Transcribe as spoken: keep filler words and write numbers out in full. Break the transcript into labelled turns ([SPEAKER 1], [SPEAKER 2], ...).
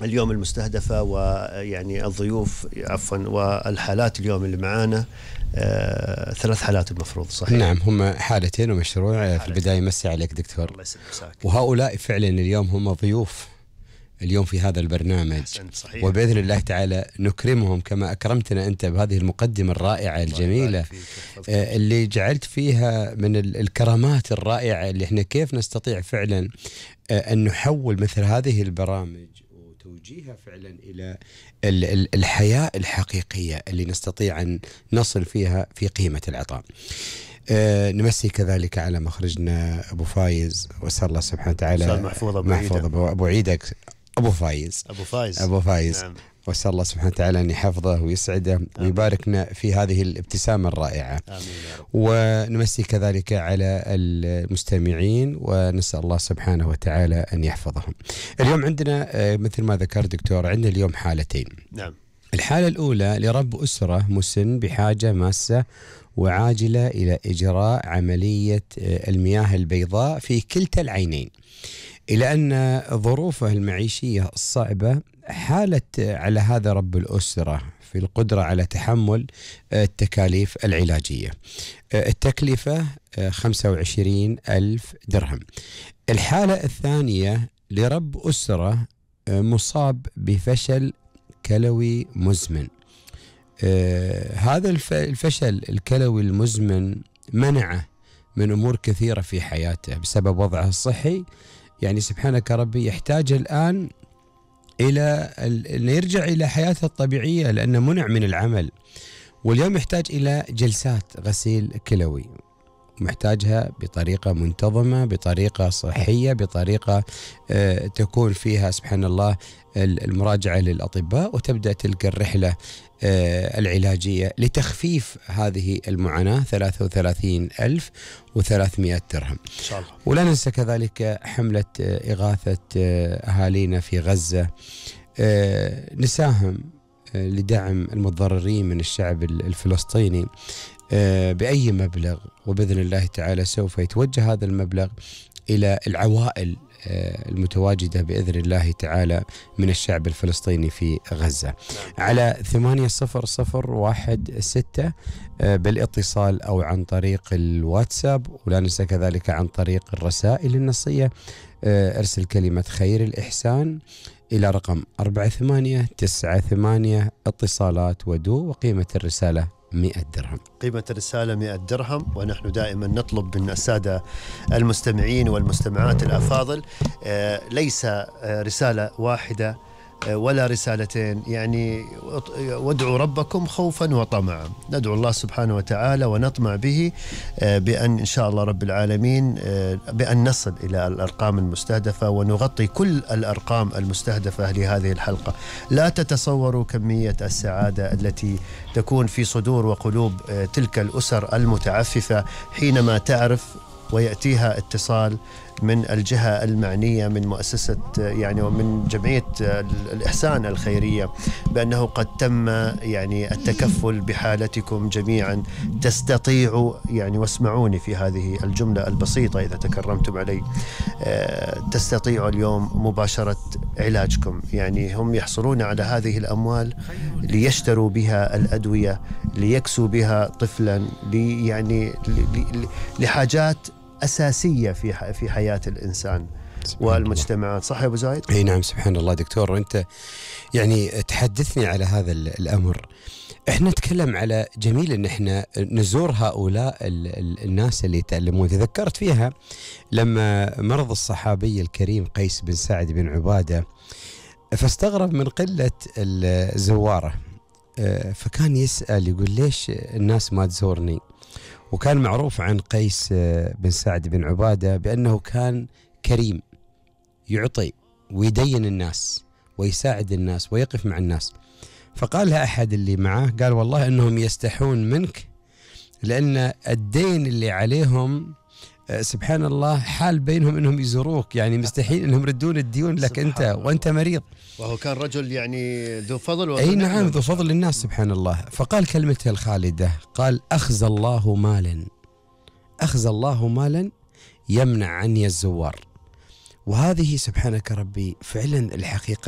[SPEAKER 1] اليوم المستهدفة ويعني الضيوف عفوا والحالات اليوم اللي معانا آه ثلاث حالات المفروض صحيح؟
[SPEAKER 2] نعم، هم حالتين ومشروع. حالتين. في البداية مسي عليك دكتور.
[SPEAKER 1] الله يسلمك.
[SPEAKER 2] وهؤلاء فعلا اليوم هم ضيوف اليوم في هذا البرنامج.
[SPEAKER 1] صحيح.
[SPEAKER 2] وبإذن الله تعالى نكرمهم كما أكرمتنا أنت بهذه المقدمة الرائعة الجميلة آه اللي جعلت فيها من الكرامات الرائعة اللي احنا كيف نستطيع فعلا آه أن نحول مثل هذه البرامج وتوجيهها فعلا إلى الحياة الحقيقية اللي نستطيع أن نصل فيها في قيمة العطاء. أه نمسي كذلك على مخرجنا أبو فايز، وأسأل الله سبحانه وتعالى
[SPEAKER 1] محفوظ أبو
[SPEAKER 2] محفوظ أبو, أبو عيدك أبو فايز
[SPEAKER 1] أبو فايز
[SPEAKER 2] أبو فايز
[SPEAKER 1] نعم.
[SPEAKER 2] وأسأل الله سبحانه وتعالى أن يحفظه ويسعده آمين. ويباركنا في هذه الابتسامة الرائعة.
[SPEAKER 1] آمين يا رب.
[SPEAKER 2] ونمسي كذلك على المستمعين ونسأل الله سبحانه وتعالى أن يحفظهم. اليوم عندنا مثل ما ذكر دكتور، عندنا اليوم حالتين.
[SPEAKER 1] نعم.
[SPEAKER 2] الحالة الأولى لرب أسرة مسن بحاجة ماسة وعاجلة إلى إجراء عملية المياه البيضاء في كلتا العينين، إلى أن ظروفه المعيشية الصعبة حالت على هذا رب الأسرة في القدرة على تحمل التكاليف العلاجية. التكلفة خمسة وعشرين ألف درهم. الحالة الثانية لرب أسرة مصاب بفشل كلوي مزمن. هذا الفشل الكلوي المزمن منعه من أمور كثيرة في حياته بسبب وضعه الصحي. يعني سبحانك ربي يحتاج الآن إلى أن يرجع إلى حياته الطبيعية لأنه منع من العمل، واليوم يحتاج إلى جلسات غسيل كلوي، محتاجها بطريقة منتظمة، بطريقة صحية، بطريقة آه تكون فيها سبحان الله المراجعة للأطباء، وتبدأ تلك الرحلة آه العلاجية لتخفيف هذه المعاناة. ثلاثة وثلاثين ألف وثلاثمائة درهم
[SPEAKER 1] إن شاء الله.
[SPEAKER 2] ولا ننسى كذلك حملة آه إغاثة آه أهالينا في غزة. آه نساهم آه لدعم المتضررين من الشعب الفلسطيني بأي مبلغ، وبإذن الله تعالى سوف يتوجه هذا المبلغ إلى العوائل المتواجدة بإذن الله تعالى من الشعب الفلسطيني في غزة على ثمانية صفر صفر واحد ستة بالاتصال أو عن طريق الواتساب. ولا ننسى كذلك عن طريق الرسائل النصية ارسل كلمة خير الإحسان إلى رقم أربعة ثمانية تسعة ثمانية اتصالات ودو، وقيمة الرسالة مئة درهم.
[SPEAKER 1] قيمة الرسالة مئة درهم. ونحن دائما نطلب من السادة المستمعين والمستمعات الأفاضل آه ليس آه رسالة واحدة آه ولا رسالتين، يعني وادعوا ربكم خوفا وطمعا. ندعو الله سبحانه وتعالى ونطمع به آه بأن إن شاء الله رب العالمين آه بأن نصل إلى الأرقام المستهدفة ونغطي كل الأرقام المستهدفة لهذه الحلقة. لا تتصوروا كمية السعادة التي تكون في صدور وقلوب تلك الأسر المتعففة حينما تعرف ويأتيها اتصال من الجهة المعنية من مؤسسة يعني ومن جمعية الإحسان الخيرية بأنه قد تم يعني التكفل بحالتكم جميعا. تستطيعوا يعني، واسمعوني في هذه الجملة البسيطة إذا تكرمتم علي، تستطيعوا اليوم مباشرة علاجكم. يعني هم يحصلون على هذه الأموال ليشتروا بها الأدوية، ليكسوا بها طفلا، لي يعني لحاجات أساسية في في حياة الإنسان والمجتمعات. صح يا أبو زايد؟
[SPEAKER 2] أي نعم، سبحان الله دكتور. وأنت يعني تحدثني على هذا الأمر. إحنا نتكلم على جميل إن إحنا نزور هؤلاء الناس اللي يتألمون. تذكرت فيها لما مرض الصحابي الكريم قيس بن سعد بن عبادة، فاستغرب من قلة الزوارة، فكان يسأل يقول ليش الناس ما تزورني؟ وكان معروف عن قيس بن سعد بن عبادة بأنه كان كريم، يعطي ويدين الناس ويساعد الناس ويقف مع الناس. فقال لها أحد اللي معاه، قال والله أنهم يستحون منك لأن الدين اللي عليهم سبحان الله حال بينهم أنهم يزوروك، يعني مستحيل أنهم يردون الديون لك أنت وأنت مريض.
[SPEAKER 1] وهو كان رجل يعني ذو فضل
[SPEAKER 2] أي نعم، ذو فضل للناس سبحان الله. فقال كلمته الخالدة، قال أخزى الله مالا أخزى الله مالا يمنع عني الزوار. وهذه سبحانك ربي فعلا الحقيقة